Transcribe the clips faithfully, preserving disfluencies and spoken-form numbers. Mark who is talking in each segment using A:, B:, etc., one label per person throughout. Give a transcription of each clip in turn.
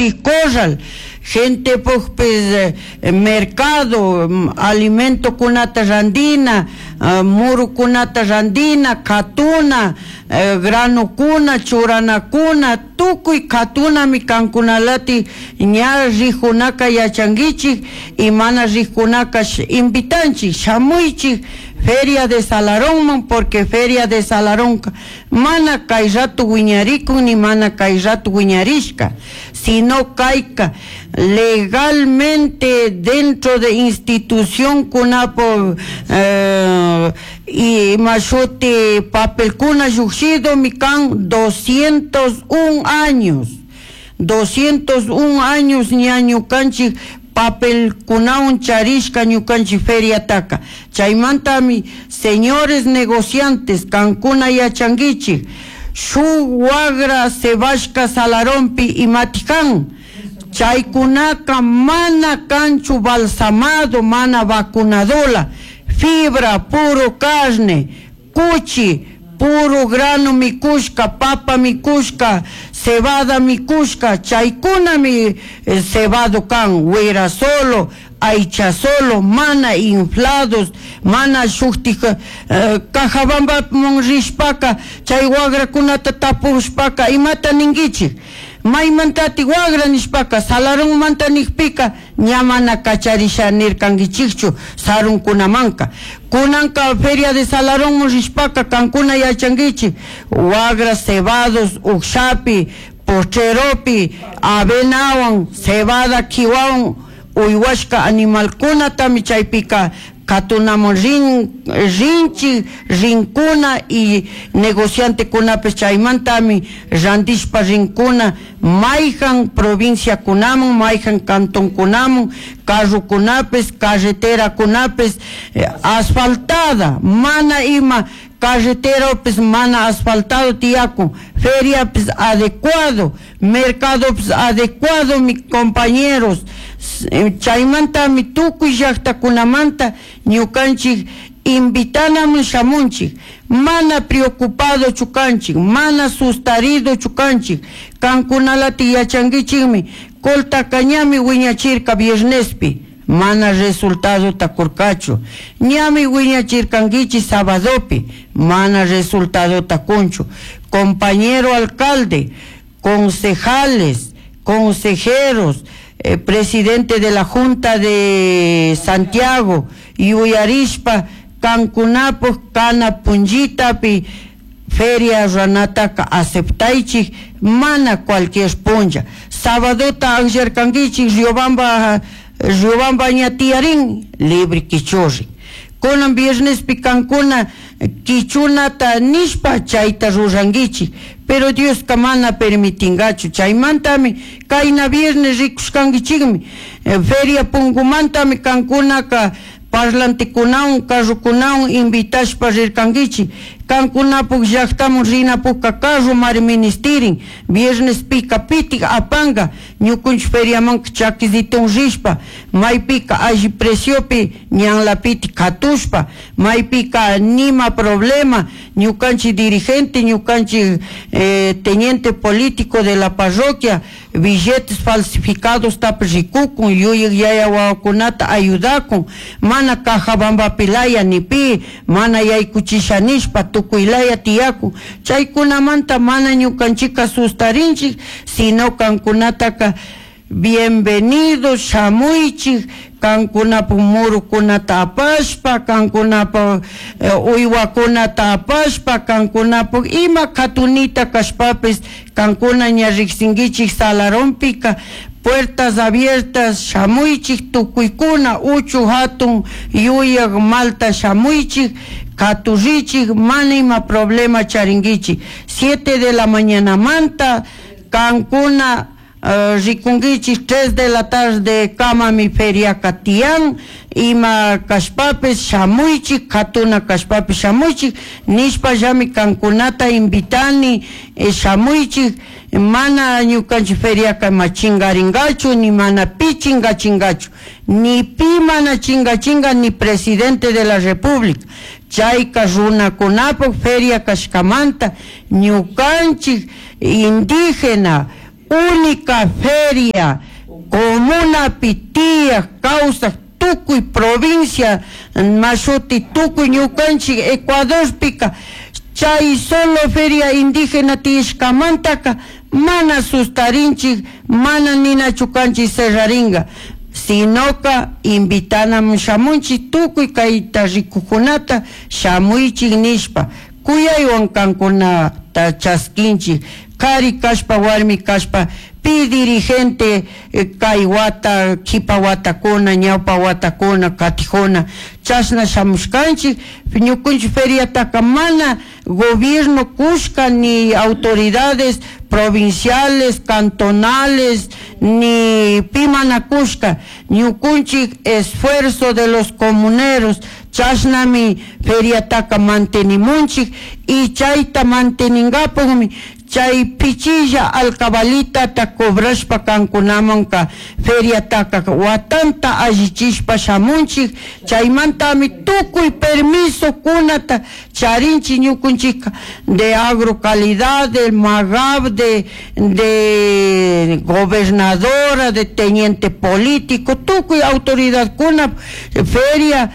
A: Shuti corral, gente pukpis mercado, alimento kunata randina, murukunata randina, katuna, granukuna, churanakuna, tukuy katunami kankunalati ña rijunaka yachankichik y mana rijunaka invitanchik shamuychik Feria de Salarón, porque Feria de Salarón mana kay rato wiñarikun ni mana kay rato wiñarishka, sino kayka legalmente dentro de institución kunapo eh, y mashuti papelkuna llukshido mi kan doscientos un años, doscientos un años ña ñukanchik papel kunawan charishka ñukanchik feriataka. Chaymantami, señores negociantes, kankuna yachankichik, shuk wagra cebashka Salarompi imatikan, chaykunaka mana kanchu balsamado, mana vacunadola, fibra, puro carne, cuchi, puro grano mikushka, papa mikushka, cebada mikushka, chaykunami eh, cebado kan, wira solo, aycha solo, mana inflados, mana shuktik eh, Cajabamba rishpaka, chay wagrakunata tapushpaka, imata ninkichik, maymantati wagra nishpaka, Salarunmanta nikpika, ña mana kacharisha nirkankichikchu sarunkunamanka. Kunanka Feria de Salarón rishpaka, kankuna yachankichik, wagra cebados, ukshapi, pocheropi, avenawan, cebada kiwawan, uywashka animalkunatami chaypika katunamun rin, rinchi, rinkuna y negociantekunapish chaymantami randishpa rinkuna mayjan provinciakunaman, mayjan cantonkunaman, carrokunapis, carreterakunapis, eh, asfaltada, mana ima carreteropis mana asfaltado tiyakun, feriapis adecuado, mercadopis adecuado, mis compañeros. Chaymantami tukuy llaqtakunamanta ñukanchik invitanamun shamunchik, mana preocupado chukanchik, mana sustarido chukanchik, kankunalati yachankichikmi, coltaka ñami wiñachirka viernespi, mana resultado takurkachu, ñami wiñachirkankichik sabadopi, mana resultado takunchu. Compañero alcalde, concejales, consejeros, eh, presidente de la Junta de Santiago, yuyarishpa kankunapuk kana punllitapi feria ranataka aceptaychik, mana cualquier punlla. Sabadota akllarkankichik Riobamba, Riobamba ña tiyarin, libre kichurri. Kunan viernespi kankuna kichunata nishpa chayta rurankichik, pero Dioska mana permitingachu. Chaymantami kayna viernes rikushkankichikmi, eh, feria pungumantami kankunaka parlantikunawan, carrokunawan invitashpa rirkankichik. Kankunapuk llaqtaman rinapukka carro mari ministerin, viernes pika pitik apanga, ñukunchik feriamanka chakisitun rishpa, maypika alli preciopi ñanlapiti katushpa, maypika nima problema, ñukanchik dirigente, ñukanchik eh, teniente político de la parroquia, billetes falsificados tapish rikukun, yuyik yaya wawakunata ayudakun, mana Cajabambapilaya ni pi, mana yaykuchisha nishpa, tukuylaya tiyakun. Chaykunamanta mana ñukanchika sustarinchik, sino kankunataka bienvenidos, shamuychik, kankunapuk murukunata apashpa, kankunapuk eh, uywakunata apashpa, kankunapuk ima katunita kashpapis, kankuna ña riksinkichik Salarompika, puertas abiertas, shamuychik tukuykuna, uchu hatun yuyak malta shamuychik, katurrichik, mana ima problema charinkichik. Siete de la mañana manta, kankuna Uh, rikunkichik tres de la tarde kamami feriaka tiyan, ima kashpapis shamuychik, katuna kashpapis shamuychik, nishpa llami kankunata invitani, eh, shamuychik, mana ñukanchik feriaka ma chingaringachu, ni mana pi chingachingachu, ni pi mana chingachinga, ni presidente de la república. Chayka runakunapuk feria kashkamanta, ñukanchik indígena, Única feria comunapi tiyaj kawsaj tukuy provincia mashuti tukuy ñukanchik Ecuadorpika chay solo feria indígena tiyashkamantaka mana sustarinchik, mana ninachu kanchik cerraringa, sinoka invitanamun shamunchik tukuy kayta rikukunata shamuychik nishpa kuyaywan kankunata chaskinchik, kari kashpa warmi kashpa pi dirigente kay wata kipa watakuna ñawpa watakuna katijuna chashna shamushkanchik. Ñukunchik feriataka mana gobierno kushka ni autoridades provinciales, cantonales, ni pi mana kushka, ñukunchik esfuerzo de los comuneros chashnami feriataka mantenimunchik y chayta manteningapukmi chay pichilla alcabalitata cobrashpa kankunamanka feriataka watanta allichishpa shamunchik, chaymantami tukuy permiso kunata charinchik ñukunchikka de agrocalidad, del MAGAP, de, de gobernadora, de teniente político, tukuy autoridad kuna feria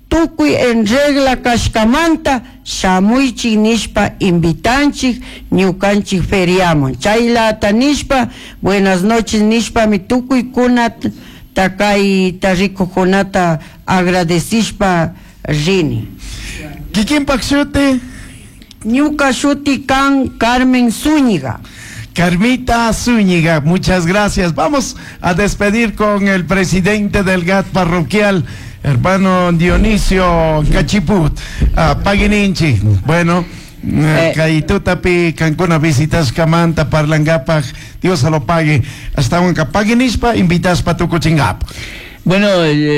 A: tukuy en regla kashkamanta shamuychik nishpa invitanchik ñukanchik feriaman. Chaylata nishpa buenas noches nishpami tukuy kunata kayta rikukunata agradecishpa rini.
B: Kikinpak shuti?
A: Ñuka shuti kan Carmen Zúñiga.
B: Carmita Zúñiga, muchas gracias. Vamos a despedir con el presidente del G A T parroquial, hermano Dionisio Cachiput, uh, Paguininchi. Bueno, eh, kay kankuna visitashkamanta parlangapaj, Dios se lo pague. Hasta un paguinishpa, invitaspa tukuchingap.
C: Bueno,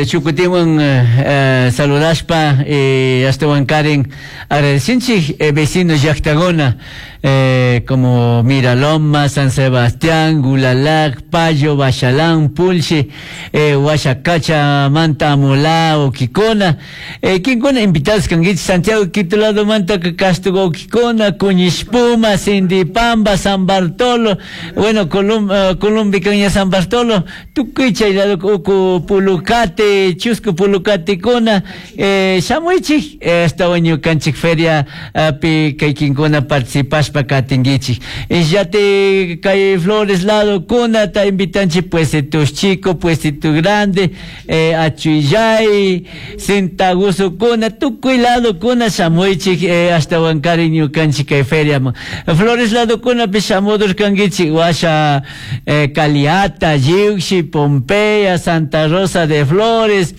C: Chukutiwan eh, saludashpa, eh, hasta Karen, agradecinchik eh, vecinos llaqtaguna, eh, como Miraloma, San Sebastián, Gulalac, Payo, Bachalán, Pulche, eh, Huachacacha, Manta, Amolá, Oquicona, eh, Quincona, invitados kanguich, Santiago, Quito, lado Manta, Castugo, Oquicona, Cuñispuma, Sindipamba, San Bartolo, bueno, Colum, uh, Columbicaña, San Bartolo, Tucuicha, y lado Ucu, Pulucate, Chusco, Pulucate, Cona, eh, Shamuichik, esta año canchik feria, pi, kay Quincona participas pa katingichik. Yate kay Flores lado kuna ta invitanchi puestitos chico, puestito grande, eh, Achuillay, Sintaguso kuna, tukuy lado kuna shamuichik, eh, hasta Huancari ñukanchik kay feria. Flores lado kuna pi shamudur kangichik, washa, eh, Caliata, Yiuxi, Pompeya, Santa Rosa de Flores,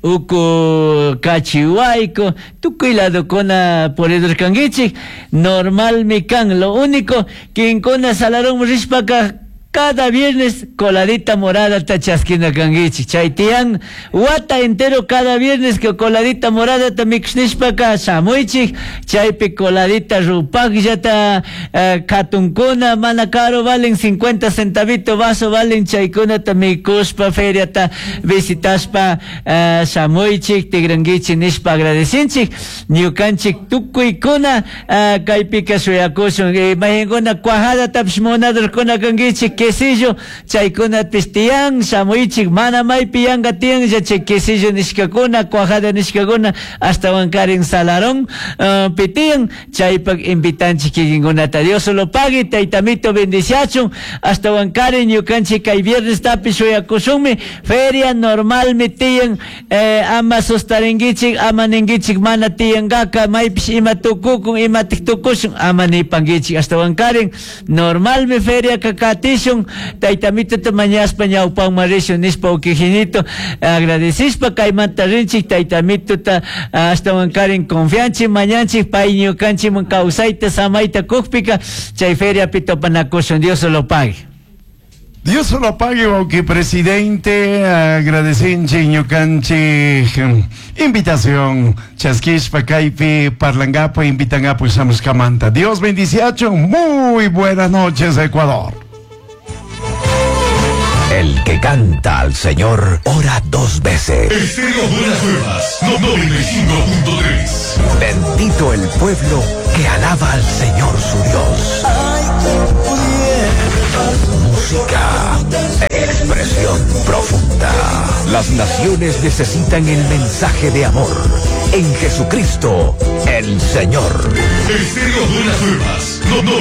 C: Uku Cachihuayco, tukuy lado kona poredor kangichik, normal mi kan, lo único que kona salarón rishpaka cada viernes coladita morada ta chasquina kangichik, chaytian wata entero cada viernes que coladita morada ta mixnishpaka shamuichik, chaypi coladita rupakllata uh, katunkuna mana caro valen cincuenta centavito vaso valen chaykuna ta mikushpa feria ta visitaspa uh, shamuichik tigranguichik nishpa agradecinchik ñukanchik tukuykuna uh, kaypika shuyakushun eh, mahinkuna cuajada tapish munadurkuna kanguichik quesillo chaykuna tiyan shamuichik mana maypi yanka tiyan chay quesillo nishkakuna cuajada nishkakuna hasta wankarin salarón uh, pitiyan chaypak invitanchik kikinkunata Dios lo pague taytamito bendiciachun hasta wankarin ñukanchik kay viernes tapi shuyakushunmi feria normalmi tiyan eh, ama sustarinkichik ama ninkichik mana tiyankaka maypish ima tukukun ima tiktukushun ama nipankichik hasta wankarin normalmi feria kakatishun taytamito mañaspa ñawpanman rishun nishpa ukijinito agradecishpa kaymanta rinchik taytamituta ashtawan karin confianchik mañanchik pay ñukanchikman kawsayta samayta kukpika chay feriapi topanakushun Dios lo pague.
B: Dios lo pague, wauki presidente, agradecinchik ñukanchik invitación chaskishpa kaypi parlangapo invitangapo shamushkamanta. Dios bendiciachun, muy buenas noches Ecuador.
D: El que canta al Señor ora dos veces.
E: Estéreo Buenas Nuevas, noventa y cinco punto tres.
D: Bendito el pueblo que alaba al Señor su Dios.
F: Ay, quien pudiera.
D: Música, expresión profunda. Las naciones necesitan el mensaje de amor. En Jesucristo, el Señor.
E: Estéreo Buenas Nuevas. No, no.